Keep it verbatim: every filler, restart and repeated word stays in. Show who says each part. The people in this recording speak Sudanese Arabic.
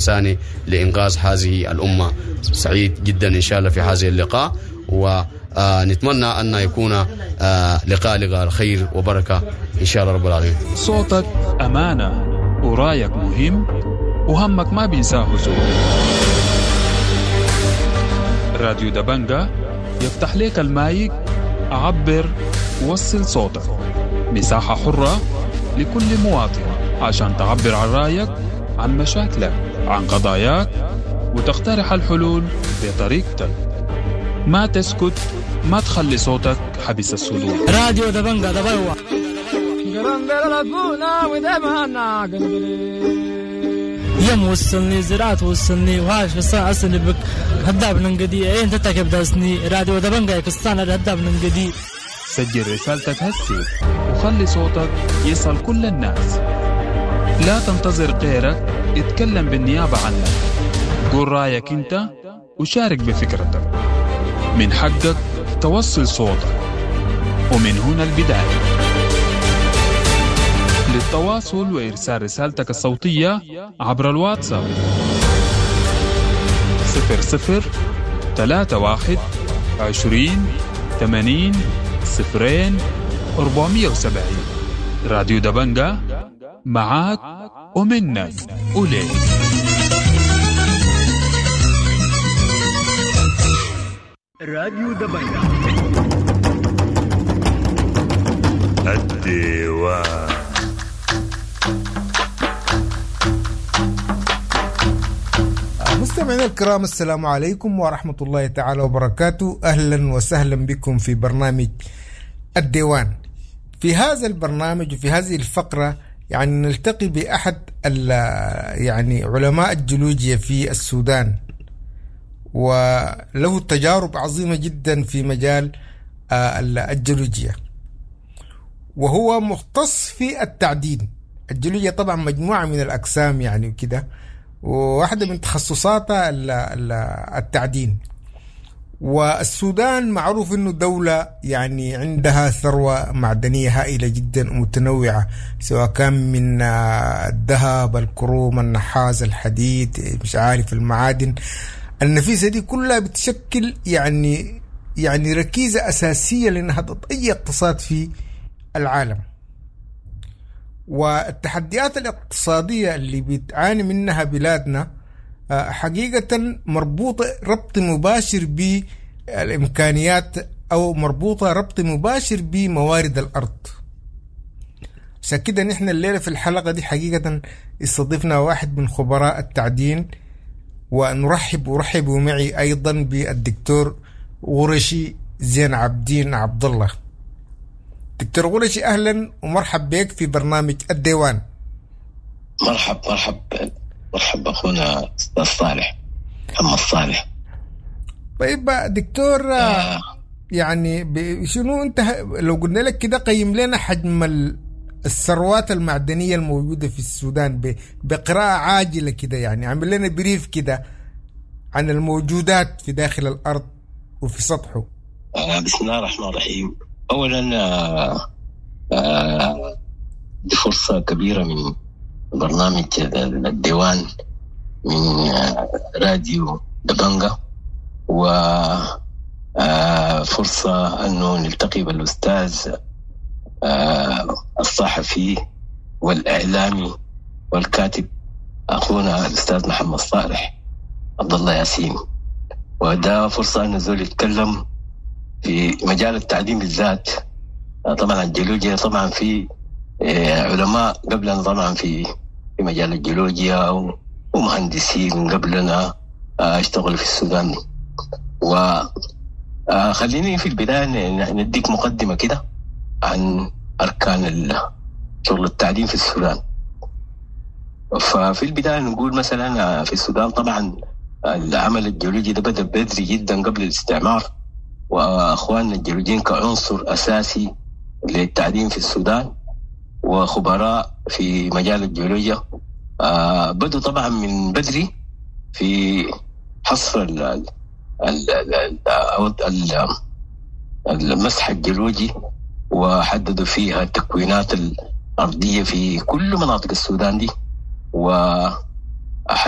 Speaker 1: الإنساني لإنقاذ هذه الأمة. سعيد جدا إن شاء الله في هذه اللقاء، ونتمنى أن يكون لقاء لقاء الخير وبركة إن شاء الله رب العالمين.
Speaker 2: صوتك أمانة ورايك مهم وهمك ما بينساه زول. راديو دبنجة يفتح لك المايك، عبر وصل صوتك، مساحة حرة لكل مواطن عشان تعبر عن رأيك، عن مشاكلك، عن قضاياك، وتقترح الحلول بطريقتك. ما تسكت، ما تخلي صوتك حبس الصدور.
Speaker 3: راديو دبنجة دبنجة. يم وصلني زراعة وصلني وهاش بس أصلي بك هداب ننقدي إيه أنت تكب داسني. راديو دبنجة كستان هداب ننقدي.
Speaker 2: سجل رسالتك هسي وخلي صوتك يصل كل الناس. لا تنتظر غيرك يتكلم بالنيابة عنك. قول رأيك أنت وشارك بفكرتك. من حقك توصل صوتك، ومن هنا البداية. للتواصل وإرسال رسالتك الصوتية عبر الواتساب صفر صفر ثلاثة واحد عشرين ثمانين صفرين أربعمية وسبعين. راديو دبنجة معاك ومنك وليك.
Speaker 4: راديو دبنجة الديوان.
Speaker 5: مستمعينا الكرام، السلام عليكم ورحمة الله تعالى وبركاته. أهلا وسهلا بكم في برنامج الديوان. في هذا البرنامج وفي هذه الفقرة يعني نلتقي بأحد يعني علماء الجيولوجيا في السودان، وله تجارب عظيمة جدا في مجال الجيولوجيا، وهو مختص في التعدين. الجيولوجيا طبعا مجموعة من الأقسام يعني وكده، وواحدة من تخصصاتها التعدين. والسودان معروف انه دولة يعني عندها ثروة معدنية هائلة جدا ومتنوعة، سواء كان من الذهب، الكروم، النحاس، الحديد، مش عارف المعادن النفيسة دي كلها بتشكل يعني يعني ركيزة أساسية لنهضة أي اقتصاد في العالم. والتحديات الاقتصادية اللي بتعاني منها بلادنا حقيقة مربوطة ربط مباشر بالإمكانيات، أو مربوطة ربط مباشر بموارد الأرض. عشان كده نحن الليلة في الحلقة دي حقيقة استضفنا واحد من خبراء التعدين، ونرحب ورحبوا معي أيضا بالدكتور غرشي زين عبدين عبد الله. دكتور غرشي، أهلا ومرحب بك في برنامج الديوان.
Speaker 6: مرحب مرحب مرحب أخونا أستاذ صالح محمد صالح.
Speaker 5: طيب دكتور، آه. يعني شنو أنت لو قلنا لك كده قيم لنا حجم الثروات المعدنية الموجودة في السودان بقراءة عاجلة كده، يعني عمل لنا بريف كده عن الموجودات في داخل الأرض وفي سطحه.
Speaker 6: آه بسم الله الرحمن الرحيم. أولا آه آه دي فرصة كبيرة من برنامج الديوان من راديو دبنجة، وفرصة أنه نلتقي بالأستاذ الصحفي والإعلامي والكاتب أخونا الأستاذ محمد صالح عبد الله ياسين، وده فرصة أنه زول يتكلم في مجال التعليم بالذات. طبعا الجيولوجيا، طبعا في علماء قبلنا طبعا في في مجال الجيولوجيا ومهندسين قبلنا اشتغلوا في السودان. وخليني في البداية نديك مقدمة كده عن أركان شغل التعليم في السودان. ففي البداية نقول مثلا في السودان طبعا العمل الجيولوجي ده بدأ بدري جدا قبل الاستعمار، وأخواننا الجيولوجيين كعنصر أساسي للتعليم في السودان وخبراء في مجال الجيولوجيا بدوا طبعا من بدري في حصر ال ال ال المسح الجيولوجي، وحددوا فيها التكوينات الأرضية في كل مناطق السودان دي،